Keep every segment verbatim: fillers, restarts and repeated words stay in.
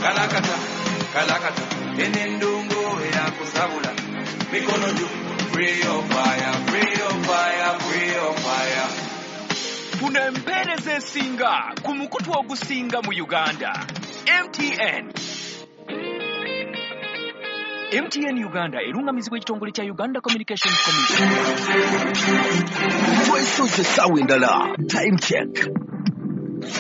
Kalakata, kalakata, enendongo eyakusabula. Mikono juu, free your fire, free your fire, free your fire. Funa empeereza esinga ku mukutu ogusinga mu Uganda. M T N. M T N Uganda erungamizibwa ekitongole kya Uganda Communications Commission. Twesoze essaawa endala. Time check.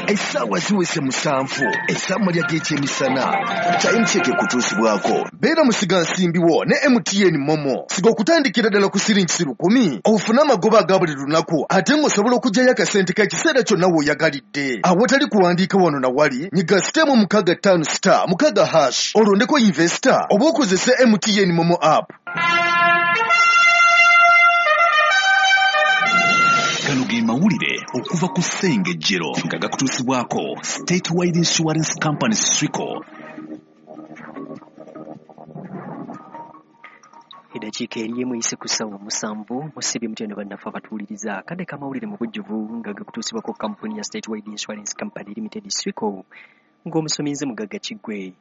Essaawa ziweze musanvu ez'amalya g'ekyemisana. Time check ekutuusibwako. Beera musigansimbi wo ne M T N Momo. Siga okutandikira ddala ku siringi lukumi ofune amagoba aga buli lunaku ate ng'osobola okuggyayo akasente k'ekiseera kyonna w'oyagalidde. Awatali kuwandiika wano na wali, nyiga sitemu mukaaga ttaano star mukaaga hash olondeko investor oba okozese M T N Momo app. Gano ge mawulire okuva ku Ssengejjero nga gakutuusibwako Statewide Insurance Company Swico. Eddakiika eri emu eyise ku ssaawa musanvu musibye mutendo bannaffe abatuwuliriza akadde k'amawulire mu bujjuvu nga gakutuusibwako kampuni ya Statewide Insurance Company Limited Swico ng'omusomi nze Mugagga Kiggwe.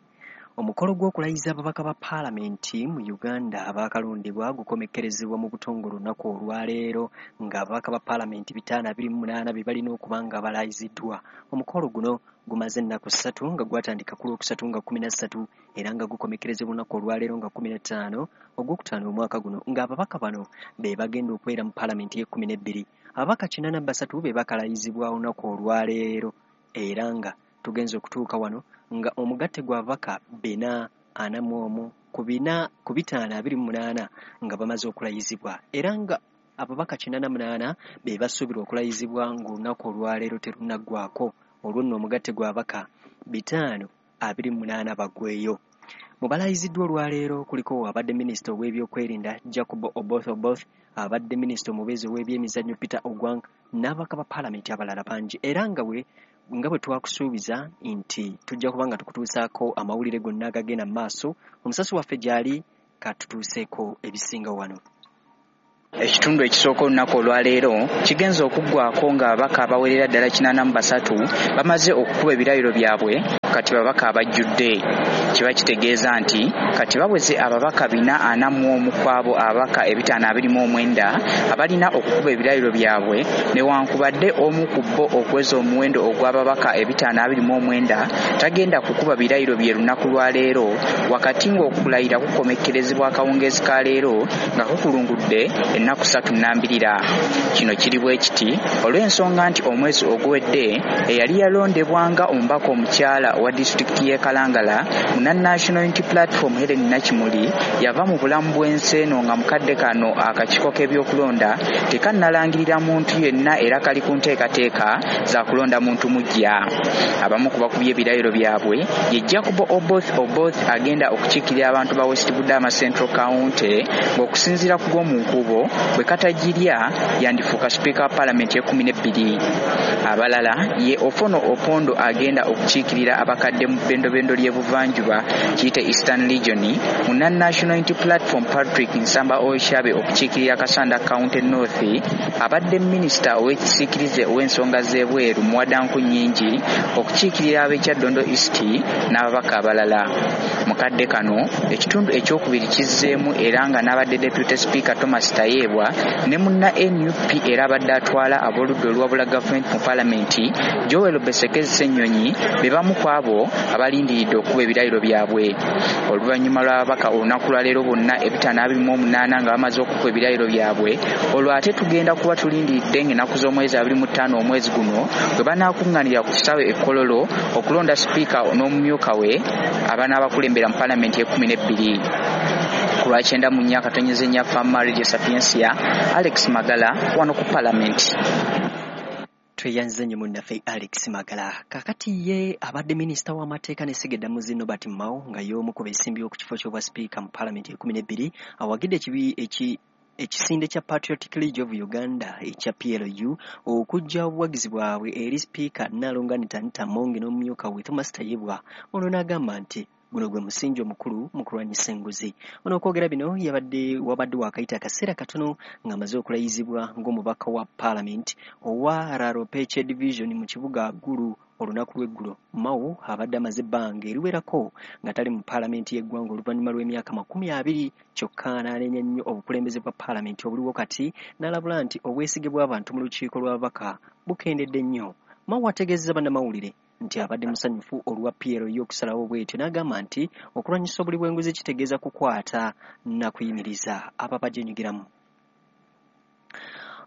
Omukolo gw'okulayiza ababaka ba paalamenti mu Uganda abaakalondebwa gukomekkerezebwa mu butongole olunaku olwaleero ng'ababaka ba paalamenti bitaano abiri mu munaana be balina okuba nga balayiziddwa. Omukolo guno gumaze ennaku ssatu nga gwatandika ku Lwokusatu nga kkumi na ssatu era nga gukomekkerezebwa olunaku olwaleero nga kkumi na ttaano Ogwokutaano omwaka guno ng'ababaka bano be bagenda okubeera mu paalamenti y'ekkumi n'ebbiri. Ababaka kinaana basatu be bakalayizibwa olunaku olwaleero era nga tugenze okutuuka wano nga omugatte gw'ababaka bina ana mu omu ku bina ku bitaano abiri mu munaana nga bamaze okulayizibwa era nga ababaka kinaana munaana be basuubirwa okulayizibwa ng'olunaku olwaleero terunaggwako. Olwo nno omugatte gw'ababaka bitaano abiri mu munaana baggweyo. Mu balayiziddwa olwaleero kuliko abadde minisita ow'ebyokwerinda Jacob Oboth Oboth, abadde minisita omubeezi ow'ebyemizannyo Peter Ogwang n'ababaka ba paalamenti abalala bangi era nga we nga bwe twakusuubiza nti tujja kuba nga tukutuusaako amawulire gonna agagenda mu maaso. Omusasi waffe gy'ali katutuuseeko ebisinga wano. Ekitundu ekisooka olunaku olwaleero kigenze okuggwako ng'ababaka abawerera ddala kinaana mu basatu bamaze okukuba ebirayiro byabwe kati babaka abajjudde. Kiba kitegeeza nti kati baweze ababaka bina ana mu omu ku abo ababaka ebitaano abiri mu omwenda abalina okukuba ebirayiro byabwe newankubadde omu ku bo okuweza omuwendo ogw'ababaka ebitaano abiri mu omwenda tagenda kukuba birayiro bye lunaku lwa leero wakati ng'okulayira kukomekkerezebwa akawungeezi ka leero nga kukulungudde ennaku ssatu nnambirira. Kino kiri bwe kiti olw'ensonga nti omwezi oguwedde eyali yalondebwa nga omubaka omukyala owa disitulikiti y'e Kalangala munna National Unity Platform Helen Nakimuli yava mu bulamu bw'ensi eno nga mukadde kano akakiiko k'ebyokulonda tekannalangirira muntu yenna era kali ku nteekateeka za kulonda muntu muggya. Abamu ku bakubye ebirayiro byabwe ye Jacob Oboth Oboth agenda okukiikirira abantu ba West Budama Central County ng'okusinziira ku gw'omu nkubo bwe katagirya yandifuuka sipiika wa paalamenti y'ekkumi n'ebbiri. Abalala ye Ofono Opondo agenda okukiikirira abakadde mu bbendobendo ly'ebuvanjuba kiyite Eastern Region, munna National Unity Platform Patrick Nsamba Oshabe okukiikirira Kasanda County North, abadde minisita ow'ekisiikirize ow'ensonga z'ebweru Muwadanku Nnyingi okukiikirira ab'e Kyaddondo East n'ababaka abalala. Mukadde kano ekitundu ekyokubiri kizzeemu era nga n'abadde Deputy Speaker Thomas Tayebwa ne munna N U P era abadde atwala ab'oludda oluwabula gavumenti mu paalamenti Joel Besekezi Ssenyonyi be bamu ku abo abalindiridde okukuba ebirayiro byabwe. Oluvannyuma lw'ababaka olunaku lwa leero bonna ebitaano abiri mu omunaana nga bamaze okukuba ebirayiro byabwe, olwo ate tugenda kuba tulindiridde ng'ennaku z'omwezi abiri mu ttaano omwezi guno bwe banaakuŋŋaanira ku kisaawe e Kololo okulonda sipiika n'omumyuka we abanaabakulembera mu paalamenti y'ekkumi n'ebbiri. Ku lwakyenda mu nnya akatonyeze nnya Fama Radio Sapientia, Alex Magala wano ku paalamenti. Tweyanze nnyo munnaffe Alex Magala. Kaakati ye abadde minisita w'amateeka n'essiga eddamuzi Norbert Mao nga y'omu ku beesimbyewo ku kifo ky'obwa sipiika mu paalamenti ekkumi n'ebbiri awagidde ekibi eki ekisinde kya Patriotic League of Uganda ekya P L U okuggya obuwagizi bwabwe eri sipiika Nnaalongo Anita Anita Among n'omumyuka we Thomas Tayebwa. Ono n'agamba nti guno gwe musingi omukulu mu kulwanyisa enguzi. Ono okwogera bino yabadde wabadde waakayita akaseera katono ng'amaze okulayizibwa ng'omubaka wa paalamenti owa Laropeche Division mu kibuga Gulu olunaku lw'eggulo. Mao abadde amaze ebbanga eriwerako nga tali mu paalamenti y'eggwanga oluvannyuma lw'emyaka makumi abiri, kyokka n'anenya nnyo obukulembeze bwa paalamenti obuliwo kati, n'alabula nti obwesige bw'abantu mu lukiiko lw'ababaka bukendedde nnyo. Mao ategeezezza bannamawulire nti abadde musanyufu olwa P L U okusalawo bw'etyo, n'agamba nti okulwanyisa obuli bw'enguzi kitegeeza kukwata na kuyimiriza ababagyenyigiramu.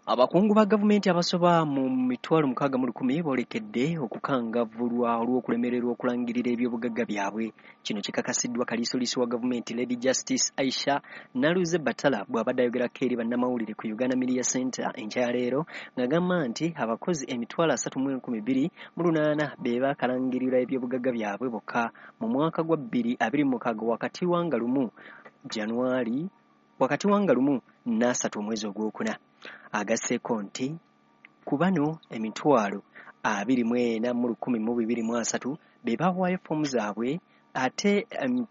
Abakungu ba gavumenti abasoba mu mitwalo mukaaga mu lukumi boolekedde okukangavvulwa olw'okulemererwa okulangirira ebyobugagga byabwe. Kino kikakasiddwa kaliisoliiso wa gavumenti Lady Justice Aisha Naluze Batala bw'abadde ayogerako eri bannamawulire ku Uganda Media Center enkya ya leero, ng'agamba nti abakozi emitwalo asatu mu enkumi bbiri mu lunaana be baakalangirira ebyobugagga byabwe bokka mu mwaka gwa bbiri abiri mu mukaaga wakati wa nga lumu Januari wakati wa nga lumu n'asatu omwezi ogwokuna. Agasseeko nti ku bano emitwalo abiri mu ena mu lukumi mu bibiri mu asatu be baawaayo foomu zaabwe, ate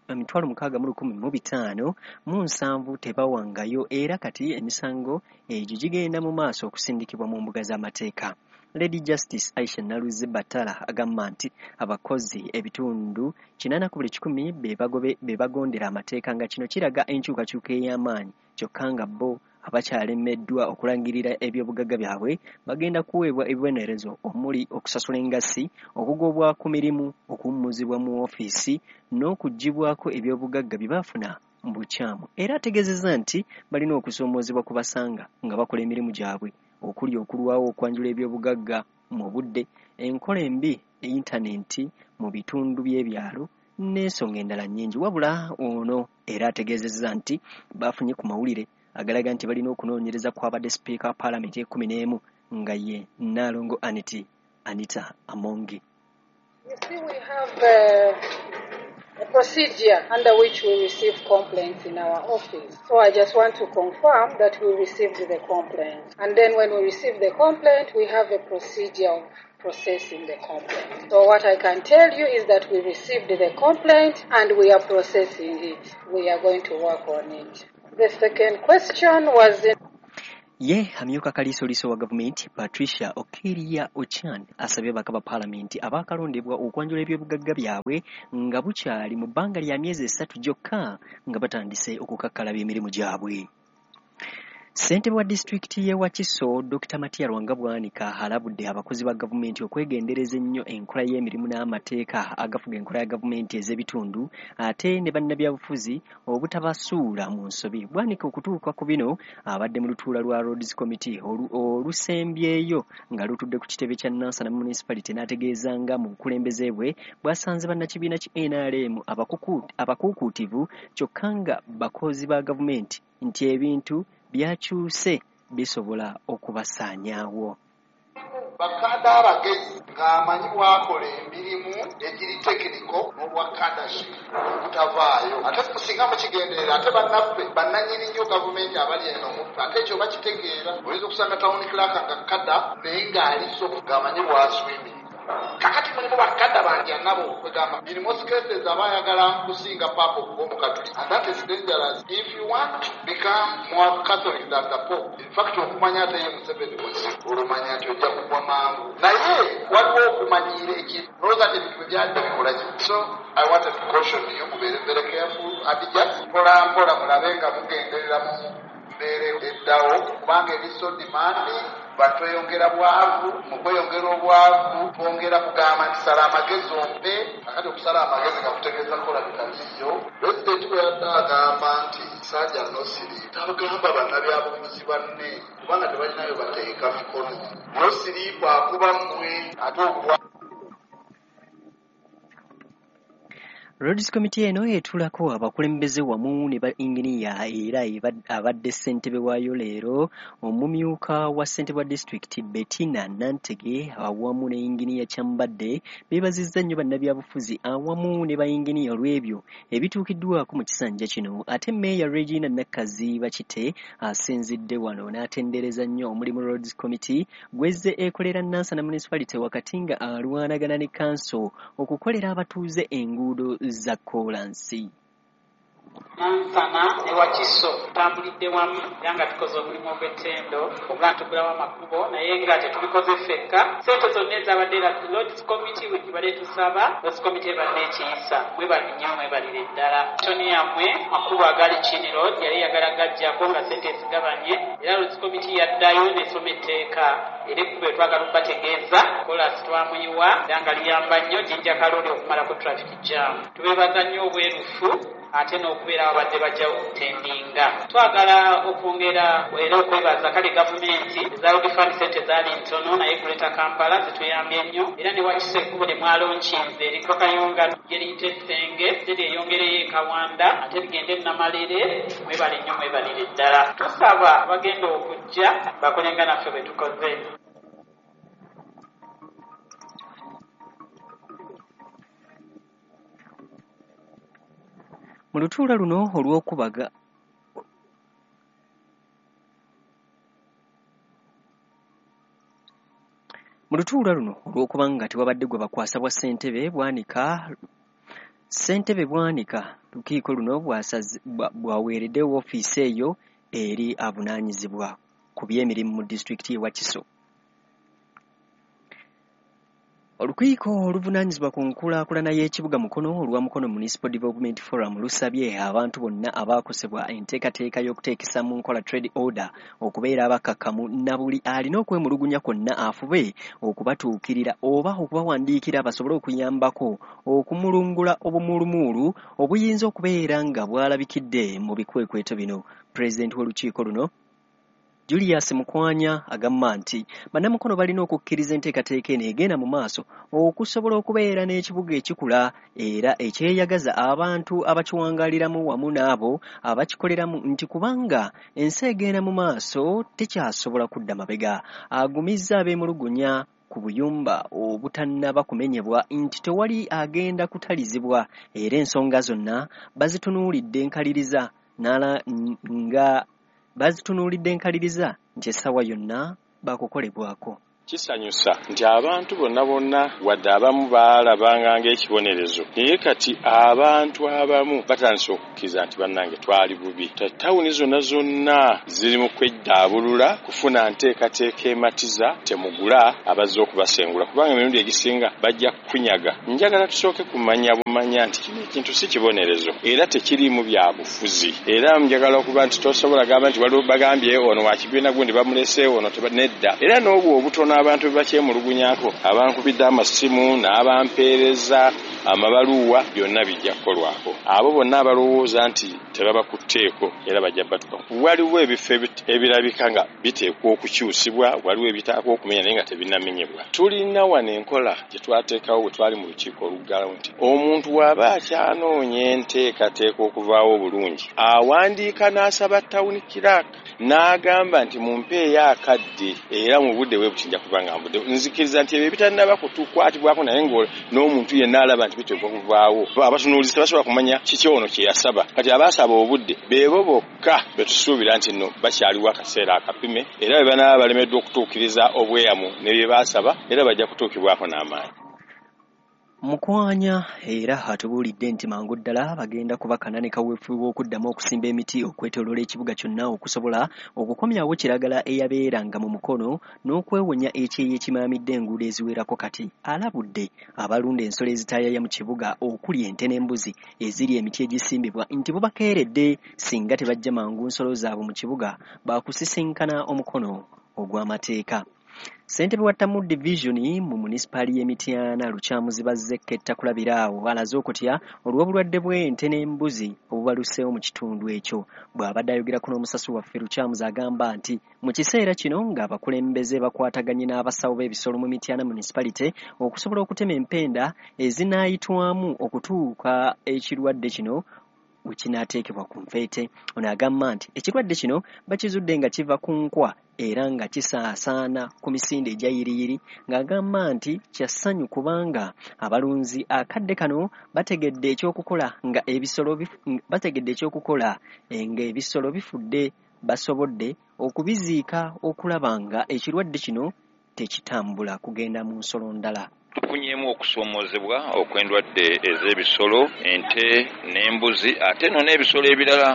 emitwalo mukaaga mu lukumi mu bitaano mu nsanvu tebawangayo, era kati emisango egyo gigenda mu maaso okusindikibwa mu mbuga z'amateeka. Lady Justice Aisha Naluze Batala agamba nti abakozi ebitundu kinaana ku buli kikumi be bagondera amateeka, nga kino kiraga enkyukakyuka ey'amaanyi, kyokka nga bo abakyalemeddwa okulangirira ebyobugagga byabwe bagenda kuweebwa ebibonerezo omuli okusasula engassi, okugobwa ku mirimu, okuwummuzibwa mu ofiisi n'okuggyibwako ebyobugagga bye baafuna mu bukyamu. Era ategeezezza nti balina okusoomoozebwa ku basanga nga bakola emirimu gyabwe okuli okulwawo okwanjula ebyobugagga mu budde, enkola embi, yintanenti mu bitundu by'ebyalo n'ensonga endala nnyingi. Wabula ono era ategeezezza nti bafunye ku mawulire agalaga nti balina okunoonyereza kw'abadde sipiika wa paalamenti ekkumi n'emu nga ye Nnaalongo Aniti Anita Amongi. You see, we have uh, a procedure under which we receive complaints in our office. So I just want to confirm that we received the complaint. And then when we receive the complaint, we have a procedure of processing the complaint. So what I can tell you is that we received the complaint and we are processing it. We are going to work on it. The second question was in Ye amyuka kaliisoliiso wa gavumenti Patricia Okeria Ochan asabye ababaka ba paalamenti abaakalondebwa okwanjula ebyobugagga byabwe nga bukyali mu bbanga lya myezi esatu gyokka nga batandise okukakkalabya emirimu gyabwe. Ssentebe wa disitulikiti y'e Wakiso Dokita Matia Lwanga Bwanika alabudde abakozi ba gavumenti okwegendereza ennyo enkola y'emirimu n'amateeka agafuga enkola ya gavumenti ez'ebitundu ate ne bannabyabufuzi obutabasuula mu nsobi. Bwanika okutuuka ku bino abadde mu lutuula lwa Roads Committee olusembyeyo nga lutudde ku kitebe kya Nansana Municipality, n'ategeeza nga mu bukulembeze bwe bwasanze bannakibiina ki N R M abakuukuutivu kyokka nga bakozi ba gavumenti nti ebintu byakyuse bisobola okubasaanyaawo. Bakada abagezi ng'amanyi bw'akola emirimu egiri tekiniko n'obwakadashi obutavaayo, ate singa mukigenderera ate bannaffe bannannyini nnyo gavumenti abali eno muffe ate ekyo bakitegeera. Oyinza okusanga town clerk nga kada naye ng'ali so ng'amanyi bw'aswiminga. Kakati mulimu bakada bangi nabo kwegamba in most cases abayagala kusinga papa okuba omukatuliki, and that is dangerous if you want to become more Catholic than the Pope. In fact okumanya ate ye Museveni buzibu, olumanya nti ojja kugwa mangu, naye waliwo okumanyiira ekintu olowooza nti ebintu byadde bikola ki. So I wanted to caution you, mubeere very careful and just mpola mpola mulabe nga mugenderera mu mbeera eddawo, kubanga eri so demanding. Batweyongera bwavu, mu kweyongera obwavu twongera kugamba nti sala amagezi ompe. Akati okusala amagezi nga kutegeeza kukola bitaliiyo. Pulezidenti bwe yadde agamba nti Sajja nosiri tabagamba bannabyabufuzi banne kubanga tebalinayo bateeka mikono. Nosiri bwakuba mmwe ate okubwa. Roads Committee eno etuulako abakulembeze wamu ne ba inginiya, era abadde ssentebe waayo leero omumyuka wa ssentebe wa disitulikiti Bettina Nantege awamu ne inginiya Kyambadde beebazizza nnyo bannabyabufuzi awamu ne ba inginiya olw'ebyo ebituukiddwako mu kisanja kino. Ate Mmeeya Regina Nakkazi Bakite asinzidde wano n'atendereza nnyo omulimu Roads Committee gwezze ekolera Nansana Municipality wakati nga alwanagana ne kanso okukolera abatuuze enguudo za koolansi. Nansana ne Wakiso tutambulidde wamu era nga tukoze omulimu ogw'ettendo okuba ntugulawo amakubo, naye nga tetubikoze ffekka. Ssente zonna ezabadde era Lords Committee we tubadde tusaba, Lords Committee ebadde ekiyisa. Mwebale nnyo, mwebalire ddala. Toni yammwe makubo agali Chini Road yali eyagala gajjako nga ssente ezigabanye, era Lords Committee yaddayo n'esoma etteeka era ekkubo etwagala okubategeeza koolaasi twamuyiwa era nga liyamba nnyo Jinja Kalooli okumalako traffic jam. Tubeebaza nnyo obwerufu ate n'okubeera ababadde bajja okutendinga. Twagala okwongera era okwebaza kale gavumenti eza Road Fund, ssente zaali ntono naye Greater Kampala zituyambye nnyo, era ne Wakiso ekkubo lye mwalonkinze eriko Kayunga lyeriyita Essenge, ate lyeyongereyo e Kawanda, ate ligende e Namalere. Mwebale nnyo, mwebalire ddala. Tusaba abagenda okujja bakole nga naffe bwe tukoze. Mu lutuula luno olw'okubaga mu lutuula luno olw'okuba nga tewabadde gwe bakwasa bwa ssentebe Bwanika ssentebe Bwanika lukiiko luno bwaweeredde woofiisi eyo eri avunaanyizibwa ku by'emirimu mu disitulikiti y'e Wakiso. Olukiiko oluvunaanyizibwa ku nkulaakulana y'ekibuga Mukono olwa Mukono Municipal Development Forum lusabye abantu bonna abaakosebwa enteekateeka y'okuteekesa mu nkola trade order okubeera abakkakkamu na buli alina okwemulugunya kwonna afube okubatuukirira oba okubawandiikira basobole okuyambako okumulungula obumulumulu obuyinza okubeera nga bwalabikidde mu bikwekweto bino. Pulezidenti w'olukiiko luno Julius Mukwanya agamba nti bannamukono balina okukkiriza enteekateeka eno egenda mu maaso okusobola okubeera n'ekibuga ekikula era ekyeyagaza abantu abakiwangaaliramu wamu n'abo abakikoleramu nti kubanga ensi egenda mu maaso tekyasobola kudda mabega. Agumizza abeemulugunya ku buyumba obutannaba kumenyebwa nti tewali agenda kutalizibwa era ensonga zonna bazitunuulidde enkaliriza n'ala nga bazitunuulidde enkaliriza nti essaawa yonna bakukolebwako. Kisanyusa nti abantu bonna bonna wadde abamu baalabanga ng'ekibonerezo, naye kati abantu abamu batandise okukkiriza nti bannange twali bubi. Tawuni zonna zonna ziri mu kweddaabulula kufuna nteekateeka ematiza, temugula abazze okubasengula kubanga emirundi egisinga bajja kukunyaga. Njagala tusooke kumanya bumanya nti kino ekintu si kibonerezo era tekiriimu bya bufuzi, era njagala okuba nti tosobola gamba nti waliwo bagambye ono wa kibiina gundi bamuleseewo ono nedda. Era n'obwo obutono abantu bebakyemulugunyako, abankubidde amasimu n'abampeereza amabaluwa, byonna bijja kukolwako. Abo bonna abalowooza nti tebabakutteeko era bajja batuka. Waliwo ebifo ebirabika nga biteekwa okukyusibwa, waliwo ebitaakwa okumenya naye nga tebinnamenyebwa. Tulina wano enkola gye twateekawo bwe twali mu lukiiko oluggalawo nti omuntu bw'aba akyanoonya enteekateeka okuvaawo obulungi, awandiika n'asaba tawuni clerk n'agamba nti mumpeeyo akadde era mu budde bwe buti nja kuba nga nvudde. Nzikiriza nti ebyo ebitannaba kutukwatibwako naye n'omuntu yenna alaba nti biteekwa kuvaawo. Abatunuulizi tebasobola kumanya kiki ono kye yasaba. Kati abaasaba obudde beebo bokka be tusuubira nti nno bakyaliwo akaseera akapime, era bwe banaaba balemeddwa okutuukiriza obweyamu ne bye baasaba era bajja kutuukibwako n'amaanyi. Mukwanya era atubuulidde nti mangu ddala bagenda kubakana ne kaweefube w'okuddamu okusimba emiti okwetooloola ekibuga kyonna okusobola okukomyawo kiragala eyabeeranga mu Mukono n'okwewonya ekyeya ekimaamidde enguudo eziwerako. Kati alabudde abalunda ensolo ezitaayaya mu kibuga okuli ente n'embuzi eziri emiti egisimbibwa nti bubakeeredde singa tebajja mangu nsolo zaabwe mu kibuga baakusisinkana omukono ogw'amateeka. Ssentebe wa Tamu Division mu munisipaali y'e Mityana Lukyamuzi Bazze Kulabira awo alaze okutya olw'obulwadde bw'ente n'embuzi obubaluseewo mu kitundu ekyo. Bw'abadde ayogerako n'omusasi waffe, Lukyamuzi agamba nti mu kiseera kino ng'abakulembeze bakwataganye n'abasawo b'ebisolo mu Mityana Municipality okusobola okutema empenda ezinaayitwamu okutuuka ekirwadde kino we kinaateekebwa ku nfeete. Ono agamba nti ekirwadde kino bakizudde nga kiva ku nkwa era nga kisaasaana ku misinde egya yiriyiri, ng'agamba nti kya ssanyu kubanga abalunzi akadde kano bategedde ekyokukola nga ebisolo bategedde ekyokukola ng'ebisolo bifudde basobodde okubiziika okulaba nga ekirwadde kino tekitambula kugenda mu nsolo ndala. Tufunyeemu okusoomozebwa okw'endwadde ez'ebisolo, ente n'embuzi, ate nno n'ebisolo ebirala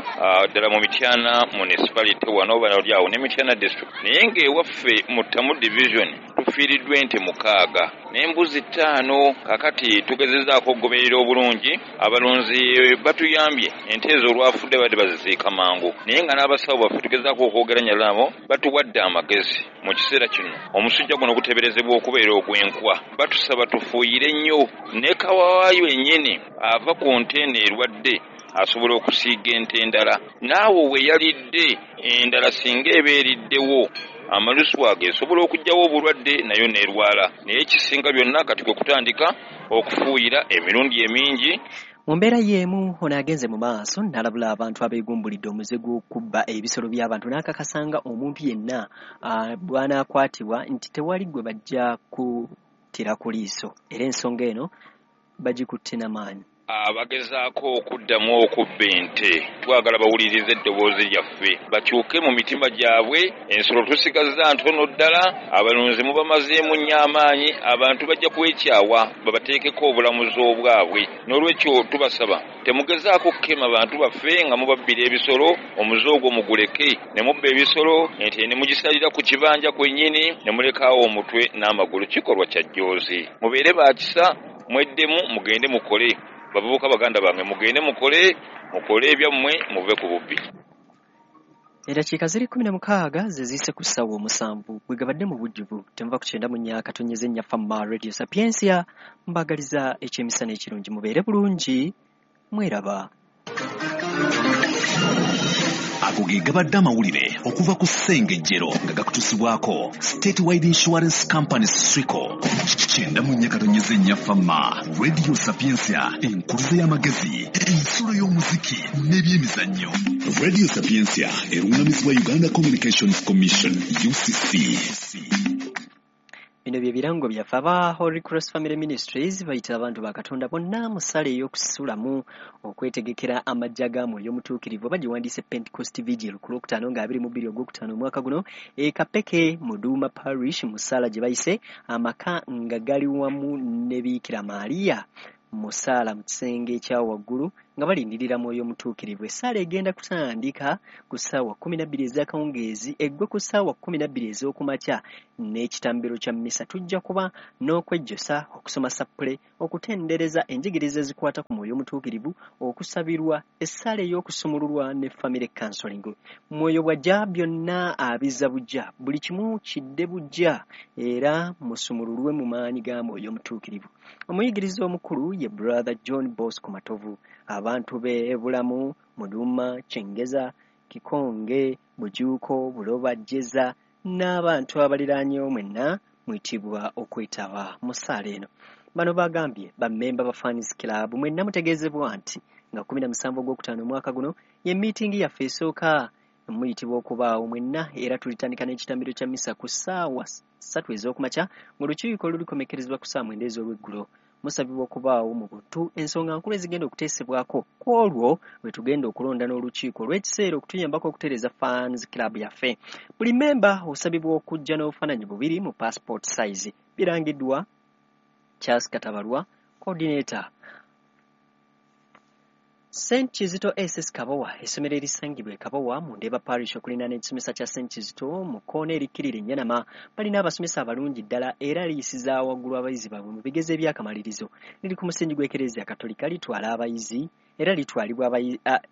ddala mu Mityana municipality wano bali awo ne Mityana district. Naye ng'ewaffe mu Ttamu division tufiiriddwa ente mukaaga n'embuzi ttaano. Kakati tugezezaako okugoberera obulungi, abalunzi batuyambye, ente ezo olwafudde badde baziziika mangu, naye nga n'abasawo baffe tugezaako okwogeranya nabo, batuwadde amagezi. Mu kiseera kino omusujja guno guteeberezebwa okubeera ogw'enkwa, batusaba tufuuyire nnyo, ne kawaayo ennyini ava ku nte eno erwadde asobola okusiiga ente endala, naawe we yalidde endala singa eba eriddewo amalusu ago esobola okuggyawo obulwadde nayo n'erwala. Naye ekisinga byonna kati kwe kutandika okufuuyira emirundi emingi. Mu mbeera y'emu ono agenze mu maaso n'alabula abantu abeegumbulidde omuze gw'okubba ebisolo by'abantu, n'akakasanga omuntu yenna bw'anaakwatibwa nti tewali gwe bajja kuttira ku liiso, era ensonga eno bagikutte n'amaanyi. Abagezaako okuddamu okubba ente twagala bawulirize eddoboozi lyaffe, bakyuke mu mitima gyabwe. Ensolo tusigazza ntono ddala, abalunzi mubamazeemu nnyo amaanyi, abantu bajja kwekyawa babateekeko obulamuzi obwabwe. N'olwekyo tubasaba temugezaako kukema bantu baffe nga mubabbira ebisolo, omuze ogwo muguleke, ne mubba ebisolo, ente ne mugisalira ku kibanja kwennyini, ne mulekaawo omutwe n'amagulu. Kikolwa kya jjoozi. Mubeere ba kisa, mweddemu, mugende mukole. Bavubuka baganda bange, mugende mukole, mukole ebyammwe, muve ku bubbi. Eddakiika ziri kkumi na mukaaga ze ziyise ku ssaawa omusanvu bwe gabadde mu bujjuvu. Temuva ku kyenda mu nnya katonyeze nnya Fama Radio Sapiensia. Mbaagaliza ekyemisana ekirungi, mubeere bulungi, mweraba. Ago ge gabadde amawulire okuva ku Ssengejjero nga gakutuusibwako Statewide Insurance Company Swico. Kyenda mu nnya katonyeze nnya Fama Radio Sapiensia, enkuluze y'amagezi, ensulo y'omuziki n'ebyemizannyo. Radio Sapiensia erungamizibwa Uganda Communications Commission U C C. Bino bye birango byaffe. Aba Holy Cross Family Ministries bayita abantu ba Katonda bonna mu ssala ey'okusulamu okwetegekera amajja ga Mwoyo Omutuukirivu. Bagiwandiise Pentecost Vigil ku Lwokutaano nga abiri mu bbiri Ogwokutaano omwaka guno e Kapeke mu Duuma Parish mu ssaala gye bayise amaka nga gali wamu ne Biikira Maria mu ssaala mu kisenge ekya waggulu nga balindirira Mwoyo Omutuukirivu. Essaala egenda kutandika ku ssaawa kkumi na bbiri ez'akawungeezi eggwe ku ssaawa kkumi na bbiri ez'okumakya n'ekitambiro kya mmisa. Tujja kuba n'okwejjosa, okusoma sappule, okutendereza enjigiriza ezikwata ku Mwoyo Omutuukirivu, okusabirwa, essaala ey'okusumululwa ne family counseling. Mwoyo bw'ajja byonna abizza buggya, buli kimu kidde buggya, era musumululwe mu maanyi ga Mwoyo Omutuukirivu. Omuyigiriza omukulu ye Brother John Bosco Matovu. Abantu b'e Bulamu, Muduma, Kyengeza, Kikonge, Bujuuko, Buloba, Jeza n'abantu abaliraanyeewo mwenna muyitibwa okwetaba mu ssaala eno. Bano bagambye bammemba ba Fans Club mwenna mutegeezebwa nti nga kkumi na musanvu Ogwokutaano omwaka guno ye miitingi yaffe esooka, muyitibwa okubaawo mwenna, era tulitandika n'ekitambiro kya mmisa ku ssaawa ssatu ez'okumakya ng'olukiiko lulikomekerezebwa ku ssaawa mwenda ez'olweggulo. Musabibwa okubaawo mu buntu ensonga nkulu ezigenda okuteesebwako ku olwo lwe tugenda okulonda n'olukiiko olw'ekiseera okutuyambako okutereeza Fans Club yaffe. Buli mmemba osabibwa okujja n'obufaananyi bubiri mu passport size. Birangiddwa Charles Katabalwa, coordinator. Saint Kizito S S Kabowa, essomero erisangibwa e Kabowa mu Ndeeba Parish okuliraana ekisomesa kya Saint Kizito mu kkoona erikkirira Ennyanama, balina abasomesa abalungi ddala era liyisiza waggulu abayizi baabwe mu bigezo eby'akamalirizo. Liri ku musingi gw'Ekereziya Katolika, litwala abayizi era litwalibwa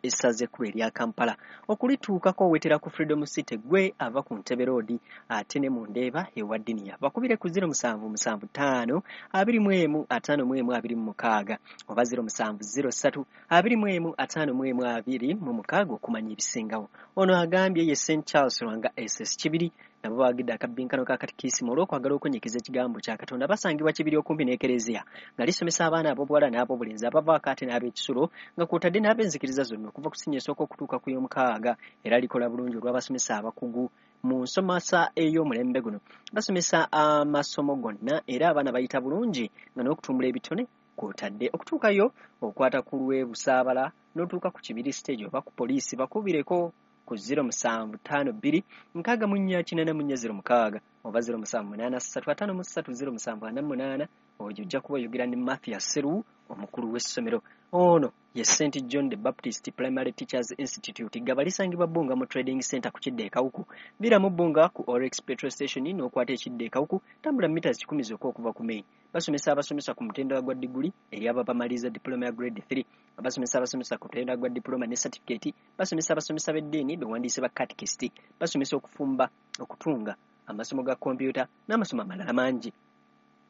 essaza ekkulu erya Kampala. Okulituukako owetera ku Freedom City gwe ava ku Ntebe Road ate ne mu Ndeeba ewa Diniya. Bakubire ku zero musanvu musanvu ttaano abiri mu emu ataano mu emu abiri mu mukaaga oba zero musanvu zero ssatu abiri mu emu ataano mu emu abiri mu mukaaga okumanya ebisingawo. Ono agambye ye Saint Charles Lwanga S S Kibiri nabo baagidde akabbinkano ka katikisimu olw'okwagala okunyikiza ekigambo kya Katonda. Basangibwa Kibiri okumpi n'Ekereziya nga lisomesa abaana ab'obuwala n'ab'obulenzi abavaako ate n'ab'ekisulo nga kw'otadde n'ab'enzikiriza zonna okuva ku siniya esooka okutuuka ku y'omukaaga, era likola bulungi olw'abasomesa abakugu mu nsomesa ey'omulembe guno. Basomesa amasomo gonna era abaana bayita bulungi nga n'okutumbula ebitone kw'otadde. Okutuukayo okwata ku lw'e Busaabala n'otuuka ku Kibiri stage oba ku poliisi, bakubireko ku zero musanvu ttaano bbiri nkaaga mu nnya kinaana mu nnya zero mukaaga oba zero musanvu munaana ssatu ataano mu ssatu zero musanvu ana munaana Oyo ojja kuba oyogera ne Mathias Seru, omukulu w'essomero. Ono ye Saint John the Baptist Primary Teachers Institute, Gaba, lisangibwa Bbunga mu Trading Center ku kidda e Kawuku. Viramu Bbunga ku Oryx Petrol Station n'okwata ekidda e Kawuku, tambula mita kikumi zokka okuva ku main. Basomesa abasomesa ku mutendera gwa diguli eri abo abamaliriza diploma ya grade three, abasomesa abasomesa ku mutendera gwa diploma ne certificate, basomesa abasomesa b'eddiini bewandiise ba catechist, basomesa okufumba, okutunga, amasomo ga kompyuta n'amasomo amalala mangi.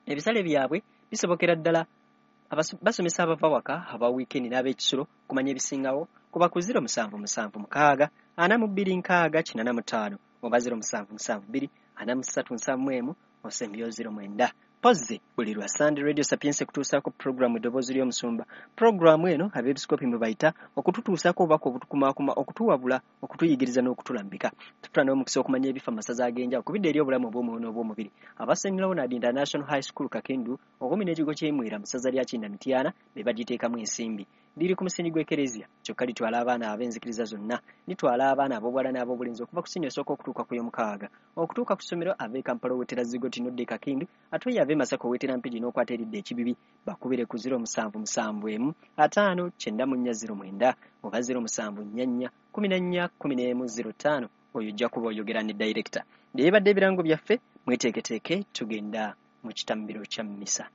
Ebisale byabwe bisobokera ddala. Basomesa abava waka, aba wiikendi n'ab'ekisulo. Kumanya ebisingawo kuba ku zero musanvu musanvu mukaaga ana mu bbiri nkaaga kinaana mu ttaano oba zero musanvu musanvu bbiri ana mu ssatu nsanvu mu emu osembyeyo zero mwenda. Pozzi buli lwa Sunday Radio Sapientia kutuusaako puroguramu Eddoboozi ly'Omusumba. Puroguramu eno abeepisikoopi mwe bayita okututuusaako obubaka obutukumaakuma, okutuwabula, okutuyigiriza n'okutulambika. Tutula n'omukisa okumanya ebifa mu masaza ag'enjawulo ku bidda eri obulamu obw'omwoyo n'obw'omubiri. Aba Saint Leonard International High School Kakindu okumpi n'ekigo ky'e Mwera mu ssaza lya Kinda Mityana be bagiteekamu ensimbi. Liri ku musingi gw'Ekereziya, kyokka litwala abaana ab'enzikiriza zonna. Litwala abaana ab'obuwala n'ab'obulenzi okuva ku siniya esooka okutuuka ku y'omukaaga. Okutuuka ku ssomero, ava e Kampala owetera Zigoti n'odda e Kakindu, ate oyo ava e Masaka owetera Mpigi n'okwata eridda Ekibibi. Bakubire ku zero musanvu musanvu emu ataano kyenda mu nnya zero mwenda oba zero musanvu nnya nnya kumi na nnya kumi n'emu zero ttaano. Oyo ojja kuba oyogera ne dayirekita. Byebadde ebirango byaffe, mweteeketeeke, tugenda mu kitambiro kya mmisa.